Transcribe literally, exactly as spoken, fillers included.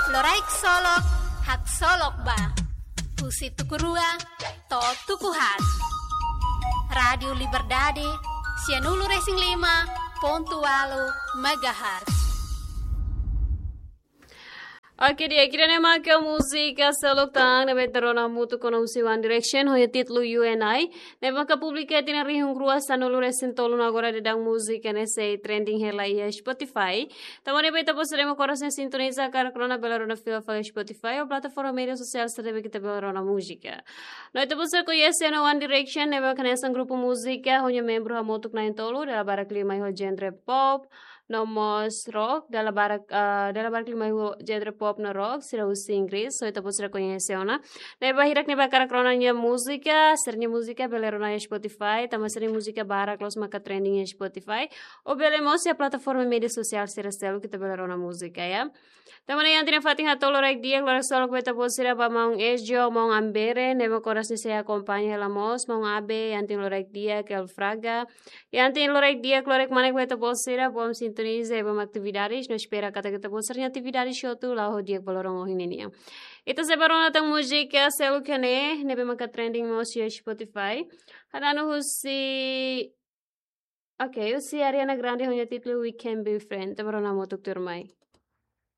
Loraik Solok, Haksolok Ba. Husi tuku rua to'o tuku haat. Rádiu Liberdade, sianulu-resin-lima pontu ualu megahertz. Oke, di'ak, ida-ne'e mak múzika seluk tan ne'ebé ita rona hamutuk kona husi One Direction, ho nia títulu You and I, ne'ebé maka publika iha tinan rihun rua sanulu-resin-tolu no agora daudaun múzika ne'e sei trending hela iha Spotify. Tanba ne'e ba ita-boot sira mak oras ne'e sintoniza, hakarak rona bele rona fila fali Spotify ou plataforma média sosiál sira ne'ebé ita bele rona múzika. No ita-boot sira koñese ona One Direction, ne'ebé maka hanesan grupu múzika ho nia membru hamutuk na'in-tolu, dala barak liu mai ho genre pop, no mós rock, dala barak, ah, dala barak liu mai ho genre pop no rock, sira husi Inggris, so ita-boot sira koñese ona. Ne'ebé hirak ne'ebé hakarak rona nia múzika, sira-nia múzika bele rona iha Spotify, tanba sira-nia múzika barak loos maka trending iha Spotify. Ou bele mós iha plataforma média sosiál sira seluk ita bele rona múzika, ya. Tanba ne'e iha tinan fatin haat loraik di'ak, loraik solok ba ita-boot sira ba maun Ezio, maun Ambere, ne'ebé maka oras ne'e sei akompaña hela mós, maun Abe, iha tinan loraik di'ak, El Fraga, iha tinan loraik di'ak, loraik manek ba ita-boot sira, bom sintoniza, bom atividades, no espera katak ita-boot sira-nia atividades hotu la'o ho di'ak ba loron ohin nian. Ita sei bá rona tan múzika seluk iha ne'e, ne'ebé maka trending mós iha Spotify. Hananu husi, oke, husi Ariana Grande ho nia títulu We Can Be Friends, ita bá rona hamutuk tuirmai.